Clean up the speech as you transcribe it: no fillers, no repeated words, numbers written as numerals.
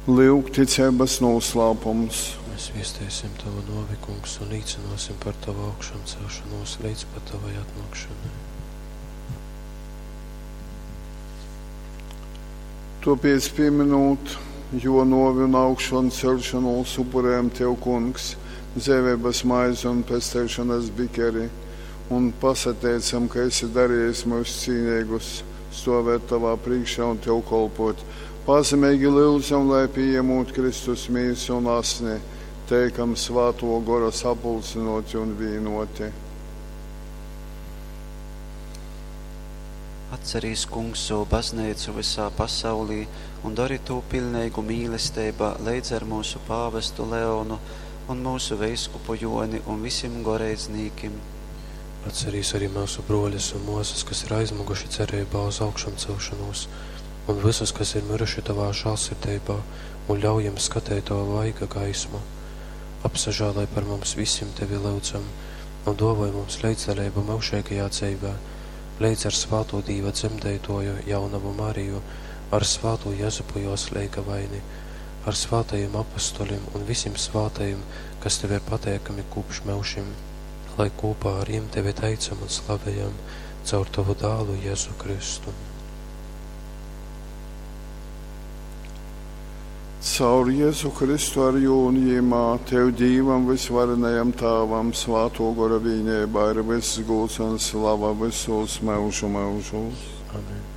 Lyuk ticeibas nūslāpums. Mēs viesteisim Tavu nōvi, Kungs, un līcināsim par Tavu augšamcelšanos līdz pat Tavai atnākšanai. Tōpēc pieminūt jō nōvi un augšancelšanos upurējam Tev, Kungs, dzeiveibas maizi un pesteišonas bikeri, un pasateicam, ka esi darījis myus cīneigus stovēt Tavā prīškā un Tev kolpot. Pazemeigi lyudzam, lai pījemūt Kristus mīsu un asni, teikam Svātō Gora sapulcynōti un vīnōti. Atcerīs, Kungs, sovu bazneicu vysā pasaulī un dori tū piļneigu mīlesteibā leidz ar myusu pāvestu Leonu un myusu veiskupu Jōni un visim goreidznīkim. Atcerīs arī myusu brōļus un mōsas, kas ir aizmiguši cereibā uz augšamcelšanos, un visus, kas ir miruši Tavā žālsirdeibā, un ļauj jiem skateit Tava vaiga gaismu. Apsažāloj par mums visim Tevi lyudzam, un dōvoj mums leidzdaleibu myužeigajā dzeivē, leidz ar svātū Dīva dzemdeitoju jaunavu Mariju, ar svātū Jezupu jos leigavaini, ar svātajiem apustuļiem un visim svātajiem, kas Tev ir pateikami kopš myužim, lai kopā ar jiem Tevi teicam un slavējam caur Tavu dālu Jēzu Kristu. Caur Jēzu Kristu ar jū un jīmā, Tev Dīvam vysvarenajam Tāvam, Svātō Gora vīneibā ir vyss gūds un slava vysūs myužu myužūs. Amen.